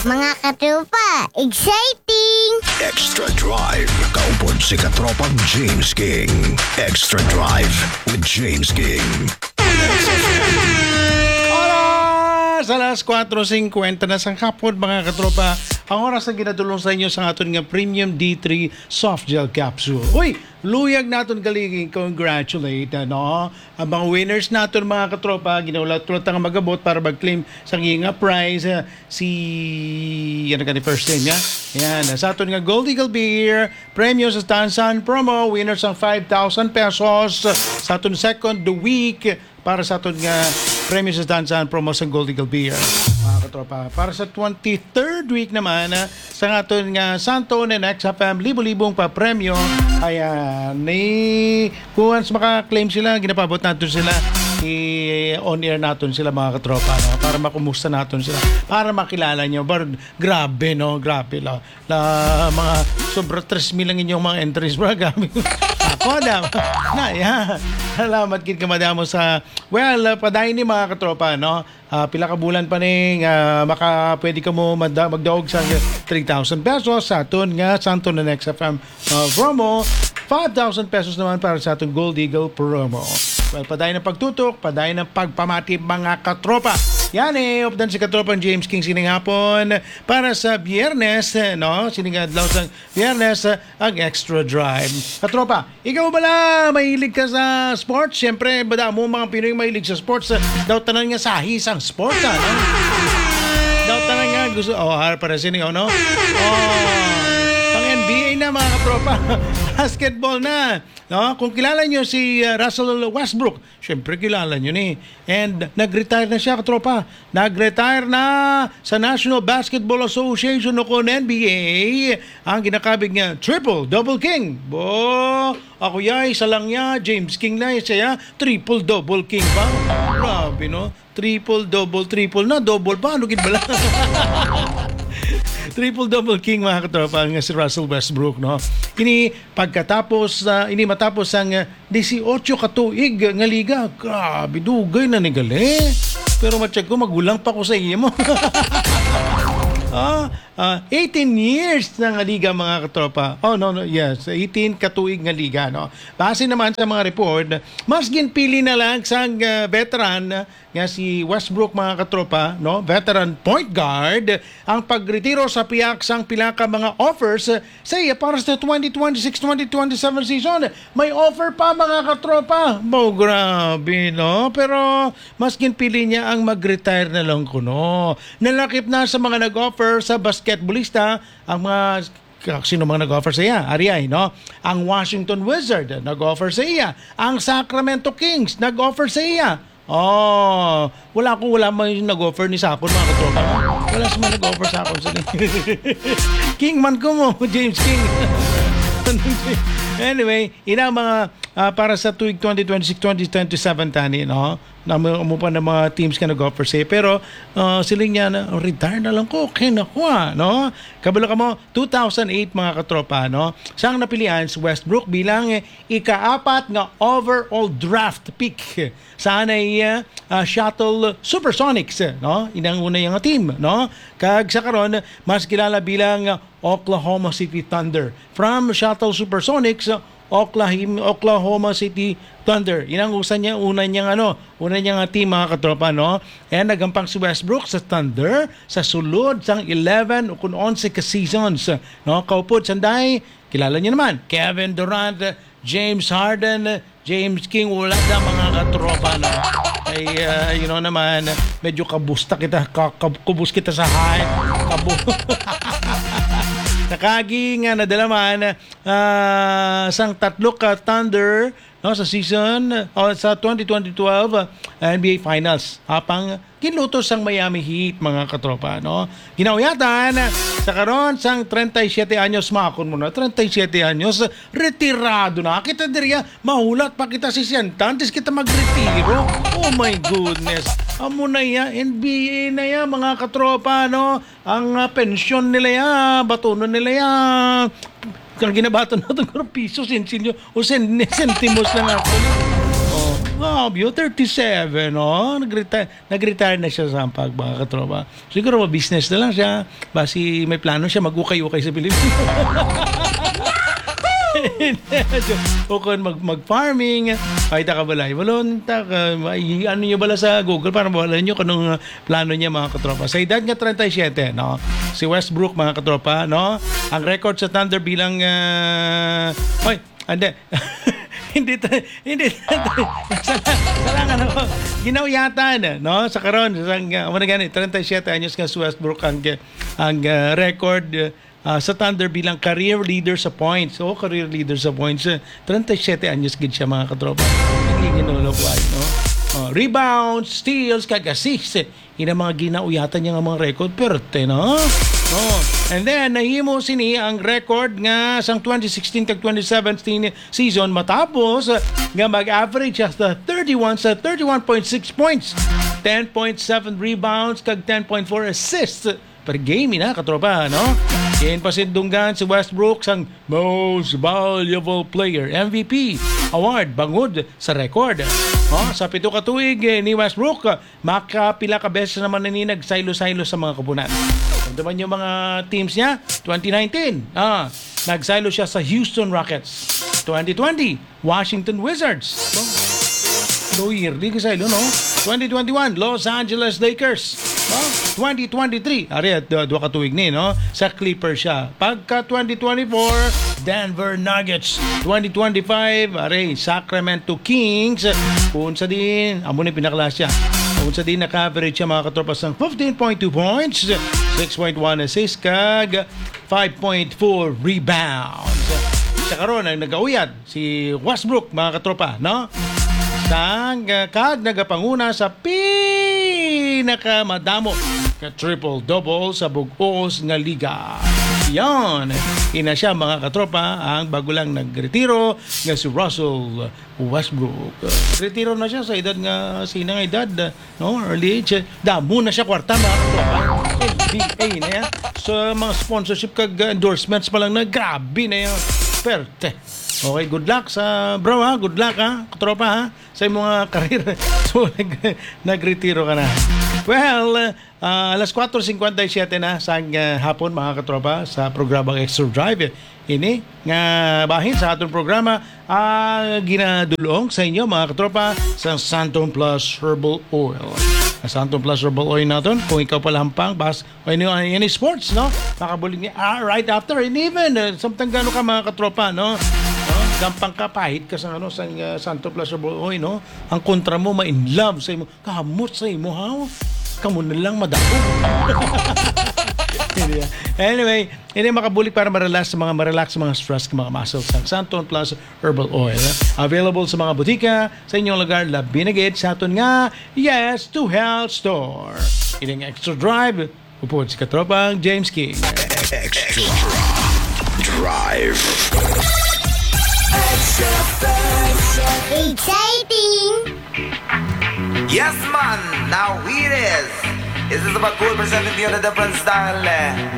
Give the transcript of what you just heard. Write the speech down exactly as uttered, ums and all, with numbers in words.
Mga katropa, exciting! Extra Drive, kaupod si Katropang James King. Extra Drive with James King. Oras! Alas kwatro singkwenta na sang hapon, mga katropa. Ang oras na ginadulong sa inyo sa aton nga Premium D three Soft Gel Capsule. Uy! Luyag naton galing congratulate, ano? Ang mga winners naton, mga katropa, ginaulat-ulat nga magabot para mag-claim sa nga prize, ah, si, ano ka ni first name, ya? Yan, sa aton nga Gold Eagle Beer, premyo sa Tansan promo, winner sang five thousand pesos, sa aton second the week, para sa aton nga premyo sa Tansan promo sa Gold Eagle Beer, mga katropa. Para sa twenty-third week naman, ah, sa aton nga Santo and X F M libo-libong papremyo. Ayan, ni kung once maka-claim sila, ginapabot naton sila, i-on air naton sila, mga katropa, no? Para makumusta naton sila, para makilala nyo. Bar, grabe, no? Grabe, la, la, mga sobra tres mil ang inyong mga entries, bro. Grabe. Ako, da, na, ya. Salamat gid ka madamo sa, well, uh, padayon ni, mga katropa, no? Ah, pila ka bulan pa ni nga maka, pwede ka mo mada-, magdaog sa three thousand pesos sa aton nga Santo na Next F M, ah, promo. Five thousand pesos naman para sa aton Gold Eagle promo. Well, padayon ang pagtutok, padayon ang pagpamati, mga katropa. Yan eh, updan si katropang James King sining hapon para sa Biyernes, eh, no? Sining adlaw sa Biyernes, eh, ang Extra Drive. Katropa, ikaw bala, mahilig ka sa sports? Siyempre, bada mo mga Pinoy mahilig sa sports, eh. Daw tanan nga sahi sang sports, ah, no? Daw tanan nga gusto, oh, har para sini, oh, no? Oh, pang N B A na, mga katropa. Basketball na. No? Kung kilala nyo si, uh, Russell Westbrook, syempre kilala nyo ni. And nag-retire na siya, katropa. Nag-retire na sa National Basketball Association o kon N B A ang ginakabig nga triple double king. Bo, ako ya, isa lang ya, James King na siya, triple double king pa. Grabe, no? Triple, double, triple na, double pa. Ano gid bala? Triple double king, mga katropa, nga si Russell Westbrook, no? Ini pagkatapos, ah, ini matapos ang, ah, disiotso ka tuig nga liga. Grabe, dugay na ni gali. Pero matsyag ko, magulang pa ko sa imo. Ah, ah, eighteen years na nga liga, mga katropa. Oh, no, no, yes, eighteen ka tuig nga liga, no? Base naman sa mga report, mas ginpili na lang sang, ah, veteran nga si Westbrook, mga katropa, no? Veteran point guard, ang pagretiro sa pihak sang pila ka mga offers sa iya para sa twenty twenty-six, twenty twenty-seven season. May offer pa, mga katropa. Mo, grabe, no? Pero mas ginpili niya ang mag-retire na lang kuno. Nalakip na sa mga nag-offer sa basketballista ang mga, sino mga nag-offer sa iya? Ari ay, no? Ang Washington Wizard nag-offer sa iya. Ang Sacramento Kings nag-offer sa iya. Oh, wala ko, wala may nag-offer ni sa akon, mga katropa. Wala sa mga nag-offer sa akon. Sige. King man ko mo, James King. Anyway, ina mga, ah, para sa tuig twenty twenty-six, twenty twenty-seven tani, no? Na mo, mo pa na mga teams nga nag-offer sa iya. Pero, ah, siling niya na, "Retire na lang ko, okay na ko, ah," no? Kabalo ka mo, two thousand eight, mga katropa, no? Siyang napilian si Westbrook bilang ikaapat nga overall draft pick sa anay, ah, Seattle Supersonics, no? Inang una nga team, no? Kag sa karon, mas kilala bilang Oklahoma City Thunder. From Seattle Supersonics, Oklahim-, Oklahoma City Thunder. Inang usa niya, una niya nga, ano, una niya nga team, mga katropa, no? And nagampang si Westbrook sa Thunder sa sulod sang eleven o kun onse ka seasons, no? Kaupod sanday, kilala niyo naman, Kevin Durant, James Harden, James King, wala na, mga katropa, no? Ay, ah, you know naman, medyo kabusta kita, ka-, kab-, kubos kita sa height. Kabu-, Nakagi nga nadala man, ah, sang tatlo ka Thunder, no, sa season, o sa twenty twenty twelve, ah, N B A Finals. Apang ginluto sang Miami Heat, mga katropa, no? Ginauyatan sa karon sang treinta y siete anyos, makon mo na, treinta y siete anyos, retirado na kita diriya, mahulat pa kita sesenta antes kita magretiro. Oh my goodness. Amo na ya, N B A na ya, mga katropa, no? Ang, ah, pensyon nila ya, batunon nila ya. Kang ginabaton natin, pero piso, sensilyo, o sen-, sentimos lang ako. Oh. Grabe, oh, thirty-seven, oh. Nag-retire, nag-retire na siya sa Sampag, mga katropa. Siguro ma-business na lang siya. Basi may plano siya mag-ukay-ukay sa Pilipinas. O kung mag, mag-farming, ay, taka balay. Balon, taka, may, ano niyo bala sa Google para mawala niyo kung anong, uh, plano niya, mga katropa. Sa edad nga treinta y siete, no? Si Westbrook, mga katropa, no? Ang record sa Thunder bilang, uh, oy, hindi. Hindi ta-, hindi ta-, sala, sala nga na po. Ginauyatan, no? Sa karon, sa, uh, ano gani, treinta y siete anyos nga si Westbrook ang, ang, uh, record, uh, sa Thunder bilang career leader sa points. Oh, career leader sa points. Uh, treinta y siete anyos gid siya, mga katropa. Nagiginulo ko ay, no? Oh, rebounds, steals, kag assists. Ina mga ginauyatan niya nga mga record, perte, no? Oh. And then, nahimo sini ang record nga sang twenty sixteen kag twenty seventeen season matapos, uh, nga mag-average siya sa thirty-one, sa thirty-one point six points, ten point seven rebounds, kag ten point four assists per game, ina, katropa, no? Ginpasindunggan si Westbrook sang Most Valuable Player, M V P, award bangod sa record. Oh, sa pito ka tuig, eh, ni Westbrook, makapila ka beses naman na ni nagsaylo-saylo sa mga koponan. Ito man yung mga teams niya, twenty nineteen, ah, nagsaylo siya sa Houston Rockets. Twenty twenty, Washington Wizards. No, yearly ka saylo, no? Twenty twenty-one, Los Angeles Lakers. No? Twenty twenty-three, ari, ah, duha ka tuig ni, no? Sa Clippers siya. Pagka twenty twenty-four, Denver Nuggets. Twenty twenty-five, ari, Sacramento Kings. Kung sa din, amo ni pinaklas siya. Kung sa din, naka-average siya, mga katropa, sang fifteen point two points, six point one assists, kag five point four rebounds. Sa karon, ang nagauyad, si Westbrook, mga katropa, no? Sang, ah, kag nagapanguna sa pinakamadamo nga triple-double sa bug-os nga liga. Yan. Ina siya, mga katropa, ang bago lang nagretiro nga si Russell Westbrook. Retiro na siya sa edad nga, sina nga edad, no? Early age. Damo na siya kwarta, mga katropa. N B A na yan. Sa mga sponsorship kag endorsements pa lang na, grabe na yan. Perte. Okay, good luck sa, bro, ha? Good luck, ha? Katropa, ha? Sa imong mga karir. So, nag-, nagretiro ka na. Well, ah, alas kwatro cincuenta y siete na sa, ah, hapon, mga katropa, sa programang Extra Drive. Ini nga bahin sa aton programa, ah, ginadulong sa inyo, mga katropa, sa Santon Plus Herbal Oil. Ang Santon Plus Herbal Oil naton, kung ikaw pala hampang, bas, o any, any sports, no? Makabulig ni, ah, right after, and even, uh, samtang gano ka, mga katropa, no? No? Gampang ka, pahit ka sa, ano, sa, uh, Santon Plus Herbal Oil, no? Ang kontra mo, ma-in love sa imo. Kamot sa imo, ha? Kamo na lang madakop. Hindi, ah. Anyway, ini makabulig para ma-relax sa mga, ma-relax sa mga stress, mga muscles. Ang Santon Plus Herbal Oil, ah. Available sa mga butika, sa inyong lugar, labi na gid sa aton nga Yes to Health Store. Ini ang Extra Drive, upod si katropang James King. Extra Drive. Exciting! Yes, man! Now here it is! This is about cool presenting to you in a different style, eh.